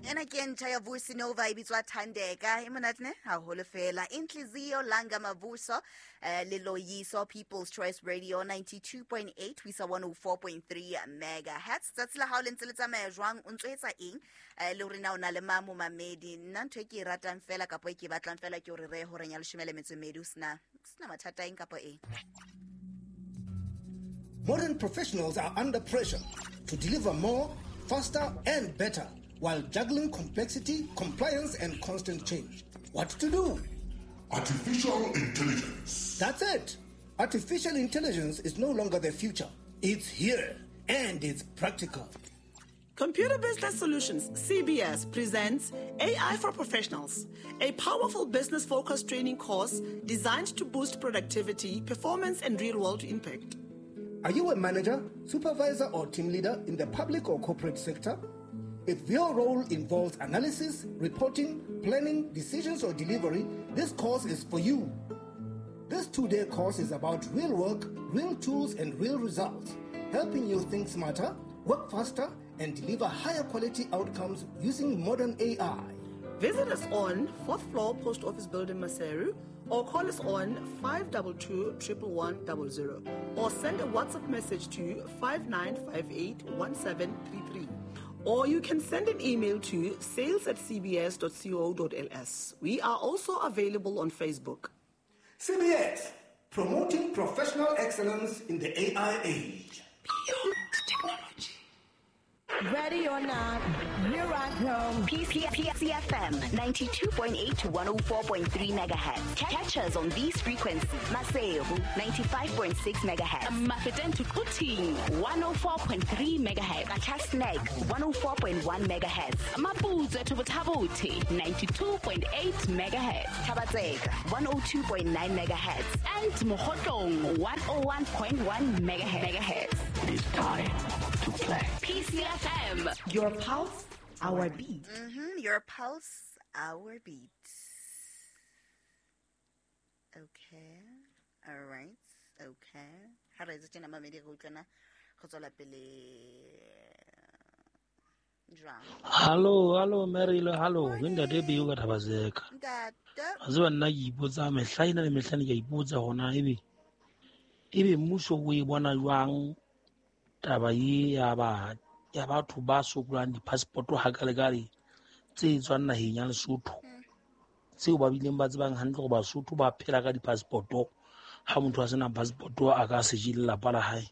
Ena ke e ntjha ya Vusi Nova e bitswa Thandeka. E monate ne? Haholo fela. Inhliziyo Langa Mavuso le Loyiso, People's Choice Radio 92.8 ho isa 104.3 megahertz. Tsatsi la hao le ntse le tsamaya jwang? O ntso etsa eng? Le hore na o na le mang momamedi? Nna ntho e ke e ratang fela kapa e ke e batlang fela ke hore re horeng ya 12 o sena mathata eng kapa eng. Modern professionals are under pressure to deliver more, faster, and better while juggling complexity, compliance, and constant change. What to do? Artificial intelligence. That's it. Artificial intelligence is no longer the future. It's here and it's practical. Computer Business Solutions, CBS, presents AI for Professionals, a powerful business focused training course designed to boost productivity, performance, and real world impact. Are you a manager, supervisor, or team leader in the public or corporate sector? If your role involves analysis, reporting, planning, decisions, or delivery, this course is for you. This 2-day course is about real work, real tools, and real results, helping you think smarter, work faster, and deliver higher quality outcomes using modern AI. Visit us on 4th floor Post Office Building, Maseru, or call us on 522 11100 or send a WhatsApp message to 5958 1733. Or you can send an email to sales@cbs.co.ls. We are also available on Facebook. CBS, promoting professional excellence in the AI age. Beyond technology. Ready or not, here I come. PCFM 92.8 to 104.3 megahertz. Catch us on these frequencies. Maseru 95.6 megahertz. Mafeteng to Quthing 104.3 megahertz. Qacha's Nek 104.1 megahertz. Maputswe to Botha-Bothe 92.8 megahertz. Thaba-Tseka 102.9 megahertz. And Mokhotlong 101.1 megahertz. It is time to play. PCFM. Your pulse, our beat. Your pulse, our beat. Okay. All right. Okay. Ha re etse tjena mamedi re utlwana go tswela pele jwang? Hallo, hallo Mary, hallo. Ke ntate Beo ka Thaba-Tseka. Ntate. A tseba nna ke ipotsa mehla ena le mehla ne ke a ipotsa hona ebe mmuso o e bona jwang taba e ya batho ba sokolang di-passport ha ka le kale tse tswang naheng ya Lesotho, tseo ba bileng ba tsebang hantle hore Basotho ba phela ka di-passport. Ha motho a sena passport a ka se je lelapa la hae.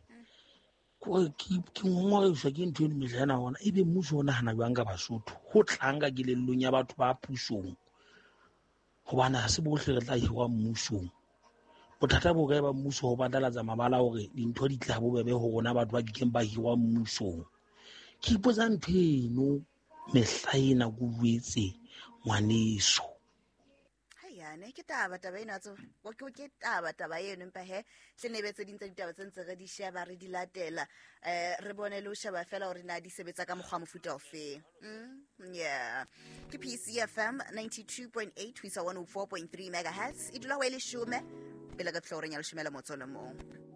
Kore ke ngongorehiswa ke ntho eno mehla ena hona ebe mmuso o nahana jwang ka Basotho, ho tlang ka kelellong ya batho ba pusong, hobane ha se bohle re tla hirwa mmusong. Bothata bo kae ba mmuso ho phatlalatsa mabala hore dintho di tla bobebe ho rona batho ba kekeng ba hirwa mmusong. Ke ipotsa ntho eno mehla ena ke jwetse ngwaneso. Haiyane, ke taba eno a tseba. Ke taba eno empa he hle ne be tse ding tsa ditaba tse ntse re di sheba re di latela. Re bone le ho sheba fela hore na di sebetsa ka mokgwa mofuta ofe. Yeah. Ke PCFM 92.8 ho isa 104.3 megahertz. E dula ho e leshome pele ka tlhoreng ya 11.